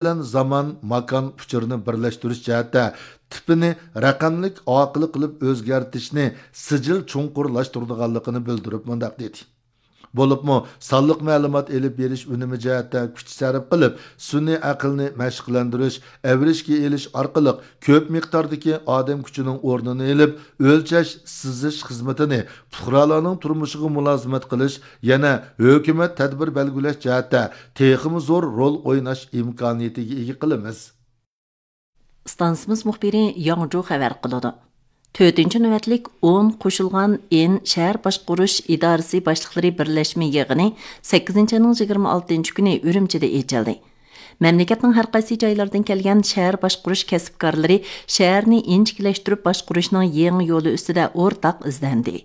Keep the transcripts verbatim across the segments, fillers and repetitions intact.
بىلەن زامان، ماكان ئۇچۇرىنى بىرلەشتۈرۈش جەھەتتە تىپىنى رەقەملىك ئارقىلىق قىلىپ ئۆزگەرتىشنى سىجىل چوڭقۇرلاشتۇرىدىغانلىقىنى بىلدۈرۈپ مۇنداق دېدى. بولۇپمۇ سانلىق مەلۇمات ئېلىپ بېرىش ئۈنۈمى جەھەتتە كۈچ سەرپ قىلىپ، سۈنئىي ئەقىلنى مەشىقلەندۈرۈش، ئەۋرىشكە ئېلىش ئارقىلىق كۆپ مىقداردىكى ئادەم كۈچىنىڭ ئورنىنى ئېلىپ، ئۆلچەش، سىزىش خىزمىتىنى پۇقرالارنىڭ تۇرمۇشىغا مۇلازىمەت قىلىش، يەنە ھۆكۈمەت تەدبىر بەلگىلەش جەھەتتە تېخىمۇ زور رول ئويناش ئىمكانىيىتىگە ئىگە قىلىمىز. ئىستانسىمىز مۇخبىرى ياڭجۇ خەۋەر قىلىدۇ. تۆتىنچى نۆۋەتلىك ئون قوشۇلغان ئىن شەھەر باشقۇرۇش ئىدارىسى باشلىقلىرى بىرلەشمە يىغىنى سەككىزىنچى ئاينىڭ يىگىرمە ئالتىنچى كۈنى ئۈرۈمچىدە ئېچىلدى. مەملىكەتنىڭ ھەر قايسى جايلىرىدىن كەلگەن شەھەر باشقۇرۇش كەسىپكارلىرى شەھەرنى ئىنچىكىلەشتۈرۈپ باشقۇرۇشنىڭ يېڭى يولى ئۈستىدە ئورتاق ئىزدەندى.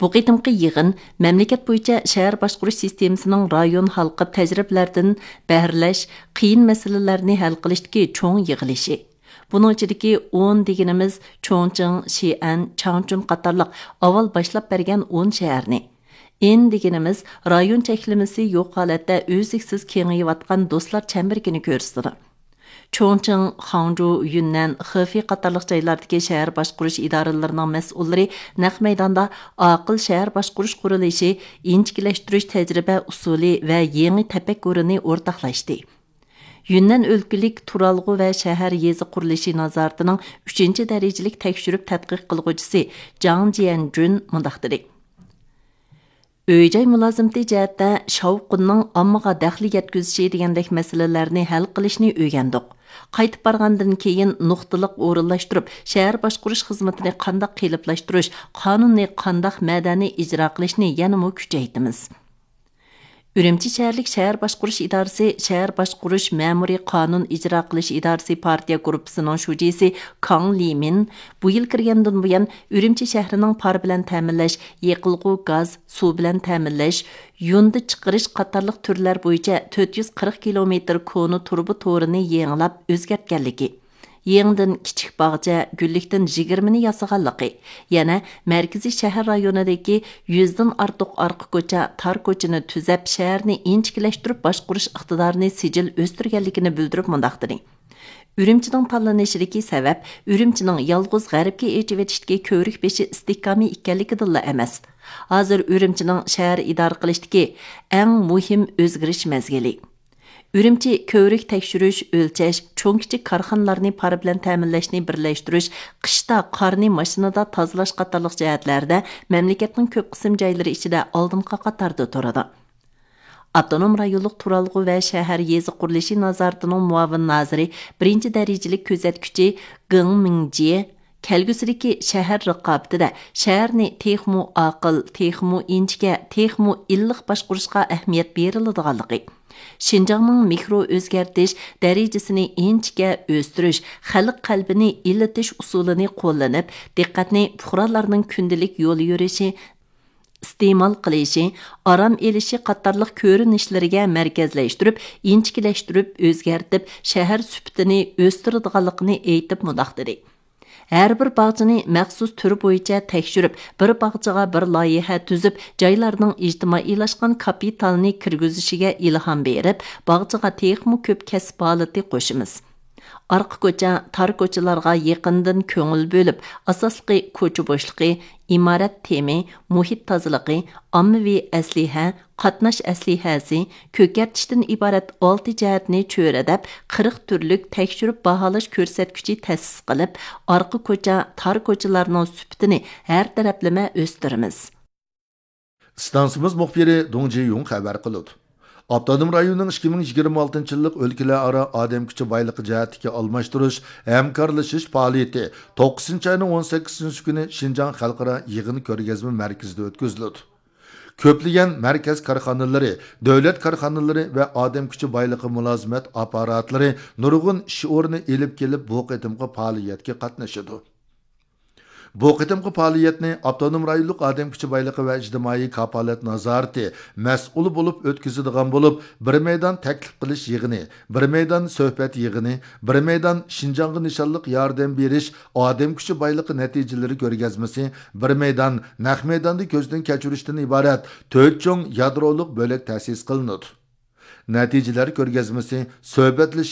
بۇ قېتىمقى يىغىن مەملىكەت بويىچە شەھەر باشقۇرۇش سىستېمىسىنىڭ رايون ھالقىپ تەجرىبىلەردىن بەھرىلەش، قىيىن مەسىلىلەرنى ھەل قىلىشتىكى چوڭ يىغىلىشى. بۇنىڭ ئىچىدىكى ئون دېگىنىمىز چوڭچىڭ، شىئەن، چاڭچۈن قاتارلىق ئاۋۋال باشلاپ بەرگەن ئون شەھەرنى، ئىن دېگىنىمىز رايون چەكلىمىسى يوق ھالەتتە ئۈزلۈكسىز كېڭىيىۋاتقان دوستلار چەمبىرىكىنى كۆرسىتىدۇ. چوڭچىڭ، خاڭجۇ، يۈننەن، خېفېي قاتارلىق جايلاردىكى شەھەر باشقۇرۇش ئىدارىلىرىنىڭ مەسئۇللىرى نەق مەيداندا ئاقىل شەھەر باشقۇرۇش قۇرۇلۇشى، ئىنچىكىلەشتۈرۈش تەجرىبە ئۇسۇلى ۋە يېڭى تەپەككۇرىنى ئورتاقلاشتى. يۈننەن ئۆلكىلىك تۇرالغۇ ۋە شەھەر يېزا قۇرۇلۇشى نازارىتىنىڭ ئۈچىنچى دەرىجىلىك تەكشۈرۈپ تەتقىق قىلغۇچىسى جاڭ جيەنجۈن مۇنداق دېدى: ئۆي-جاي مۇلازىمىتى جەھەتتە شاۋقۇننىڭ ئاممىغا دەخلى يەتكۈزۈشى دېگەندەك مەسىلىلەرنى ھەل قىلىشنى ئۆگەندۇق. قايتىپ بارغاندىن كېيىن نۇقتىلىق ئورۇنلاشتۇرۇپ، شەھەر باشقۇرۇش خىزمىتىنى قانداق قېلىپلاشتۇرۇش، قانۇننى قانداق مەدەنىي ئىجرا قىلىشنى يەنىمۇ كۈچەيتىمىز. ئۈرۈمچى شەھەرلىك شەھەر باشقۇرۇش ئىدارىسى شەھەر باشقۇرۇش مەمۇرىي قانۇن ئىجرا قىلىش ئىدارىسى پارتىيە گۇرۇپپىسىنىڭ شۇجىسى كاڭ لىمىن بۇ يىل كىرگەندىن بۇيان، ئۈرۈمچى شەھىرىنىڭ پار بىلەن تەمىنلەش، يېقىلغۇ گاز، سۇ بىلەن تەمىنلەش، يۇندى چىقىرىش قاتارلىق تۈرلەر بويىچە تۆت يۈز قىرىق كىلومېتىر كونا تۇرۇبا تورىنى يېڭىلاپ ئۆزگەرتكەنلىكى، يېڭىدىن كىچىك باغچە، گۈللۈكتىن يىگىرمىنى ياسىغانلىقى، يەنە مەركىزىي شەھەر رايونىدىكى يۈزدىن ئارتۇق ئارقا كوچا، تار كوچىنى تۈزەپ، شەھەرنى ئىنچىكىلەشتۈرۈپ باشقۇرۇش ئىقتىدارىنى سىجىل ئۆستۈرگەنلىكىنى بىلدۈرۈپ مۇنداق دېدى: ئۈرۈمچىنىڭ تاللىنىشىدىكى سەۋەب ئۈرۈمچىنىڭ يالغۇز غەربكە ئېچىۋېتىشتىكى كۆۋرۈك بېشى ئىستىھكامى ئىكەنلىكىدىنلا ئەمەس. ھازىر ئۈرۈمچىنىڭ شەھەر ئىدارە قىلىشتىكى ئەڭ مۇھىم ئۆزگىرىش مەزگىلى. ئۈرۈمچى كۆۋرۈك تەكشۈرۈش، ئۆلچەش، چوڭ كىچىك كارخانىلارنى پار بىلەن تەمىنلەشنى بىرلەشتۈرۈش، قىشتا قارنى ماشىنىدا تازىلاش قاتارلىق جەھەتلەردە مەملىكەتنىڭ كۆپ قىسىم جايلىرى ئىچىدە ئالدىنقى قاتاردا تۇرىدۇ. ئاپتونوم رايونلۇق تۇرالغۇ ۋە شەھەر يېزا قۇرۇلۇشى نازارىتىنىڭ مۇئاۋىن نازىرى، بىرىنچى دەرىجىلىك كۆزەتكۈچى گېڭ مىڭجيې كەلگۈسىدىكى شەھەر رىقابىتىدە شەھەرنى تېخىمۇ ئاقىل، تېخىمۇ ئىنچىكە، تېخىمۇ ئىللىق باشقۇرۇشقا ئەھمىيەت بېرىلىدىغانلىقى، شىنجاڭنىڭ مىكرو ئۆزگەرتىش دەرىجىسىنى ئىنچىكە ئۆستۈرۈش، خەلق قەلبىنى ئىللىتىش ئۇسۇلىنى قوللىنىپ، دىققەتنى پۇقرالارنىڭ كۈندىلىك يول يۈرۈشى، ئىستېمال قىلىشى، ئارام ئېلىشى قاتارلىق كۆرۈنۈشلىرىگە مەركەزلەشتۈرۈپ، ئىنچىكىلەشتۈرۈپ ئۆزگەرتىپ، شەھەر سۈپىتىنى ئۆستۈرىدىغانلىقىنى ئېيتىپ مۇنداق دېدى: ھەر بىر باغچىنى مەخسۇس تۈر بويىچە تەكشۈرۈپ، بىر باغچىغا بىر لايىھە تۈزۈپ، جايلارنىڭ ئىجتىمائىيلاشقان كاپىتالنى كىرگۈزۈشىگە ئىلھام بېرىپ، باغچىغا تېخىمۇ كۆپ كەسىپ ھالىتى قوشىمىز. ئارقا كوچا، تار كوچىلارغا يېقىندىن كۆڭۈل بۆلۈپ، ئاساسلىقى كوچا بوشلۇقى، ئىمارەت تېمى، مۇھىت تازىلىقى، ئاممىۋى ئەسلىھە، قاتناش ئەسلىھەسى، كۆكەرتىشتىن ئىبارەت ئالتە جەھەتنى چۆرىدەپ، قىرىق تۈرلۈك تەكشۈرۈپ باھالاش كۆرسەتكۈچى تەسىس قىلىپ، ئارقا كوچا، تار كوچىلارنىڭ سۈپىتىنى ھەر تەرەپلىمە ئۆستۈرىمىز. ئىستانسىمىز مۇخبىرى دۇڭ جىيۇڭ خەۋەر قىلىدۇ. ئاپتونوم رايوننىڭ ئىككى مىڭ يىگىرمە ئالتىنچى يىللىق ئۆلكىلەر ئارا ئادەم كۈچى بايلىقى جەھەتتىكى ئالماشتۇرۇش، ھەمكارلىشىش پائالىيىتى توققۇزىنچى ئاينىڭ ئون سەككىزىنچى كۈنى شىنجاڭ خەلقئارا يىغىن كۆرگەزمە مەركىزىدە ئۆتكۈزۈلىدۇ. كۆپلىگەن مەركەز كارخانىلىرى، دۆلەت كارخانىلىرى ۋە ئادەم كۈچى بايلىقى مۇلازىمەت ئاپپاراتلىرى نۇرغۇن ئىش ئورنى ئېلىپ كېلىپ، بۇ قېتىمقى پائالىيەتكە قاتنىشىدۇ. بۇ قېتىمقى پائالىيەتنى ئاپتونوم رايونلۇق ئادەم كۈچى بايلىقى ۋە ئىجتىمائىي كاپالەت نازارىتى مەسئۇلى بولۇپ ئۆتكۈزىدىغان بولۇپ، بىر مەيدان تەكلىپ قىلىش يىغىنى، بىر مەيدان سۆھبەت يىغىنى، بىر مەيدان شىنجاڭغا نىشانلىق ياردەم بېرىش، ئادەم كۈچى بايلىقى نەتىجىلىرى كۆرگەزمىسى، بىر مەيدان نەق مەيداندا كۆزدىن كەچۈرۈشتىن ئىبارەت تۆت چوڭ يادرولۇق بۆلەك تەسىس قىلىنىدۇ. نەتىجىلەر كۆرگەزمىسى، سۆھبەتلىشىش